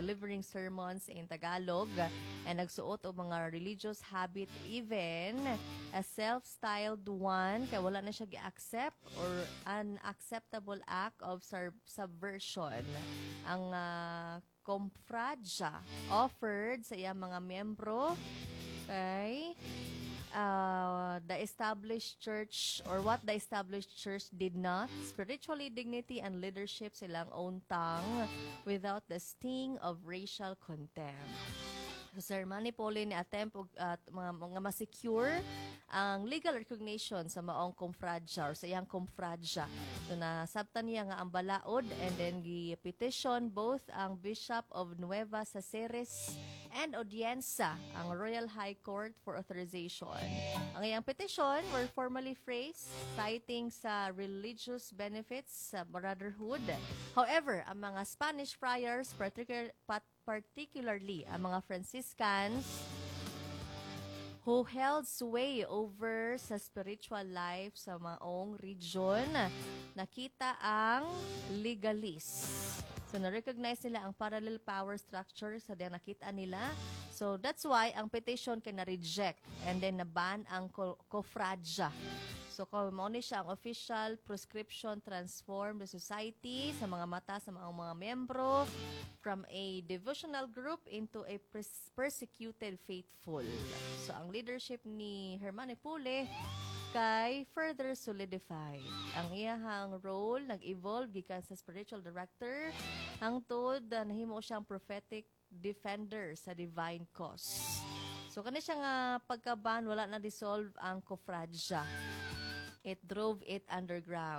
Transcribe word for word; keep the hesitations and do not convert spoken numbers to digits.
delivering sermons in Tagalog and nagsuot og mga religious habit, even a self-styled one, kay wala na siya gi-accept or an acceptable act of sub- subversion. Ang uh, Confradia offered sa iyang mga miyembro kay uh, the established church or what the established church did not, spiritually dignity and leadership silang own tongue without the sting of racial contempt. So, Sir Manny Pule ni attempt og uh, mga, mga ma-secure ang legal recognition sa maong confradia or sa iyang confradia. So nasabtan niya nga ang balaod and then gi-petition both ang Bishop of Nueva Caceres and Audiencia, ang Royal High Court, for authorization. Ang iyang petition were formally phrased citing sa religious benefits sa brotherhood. However, ang mga Spanish friars, particular, pat- particularly ang mga Franciscans, who held sway over sa spiritual life sa maong region, nakita ang legalist. So, na-recognize nila ang parallel power structure sa diyang nakita nila. So, that's why ang petition kay na-reject and then na-ban ang ko- Cofradia. So, kung mao ni siya ang official proscription transform the society sa mga mata sa mga mga membro from a devotional group into a pers- persecuted faithful. So, ang leadership ni Hermane Pule kay further solidified. Ang iyahang role nag-evolve gikan sa spiritual director hangtod uh, nahimo siyang prophetic defender sa divine cause. So kani siya nga pagkaban, wala na dissolve ang Cofradia. It drove it underground.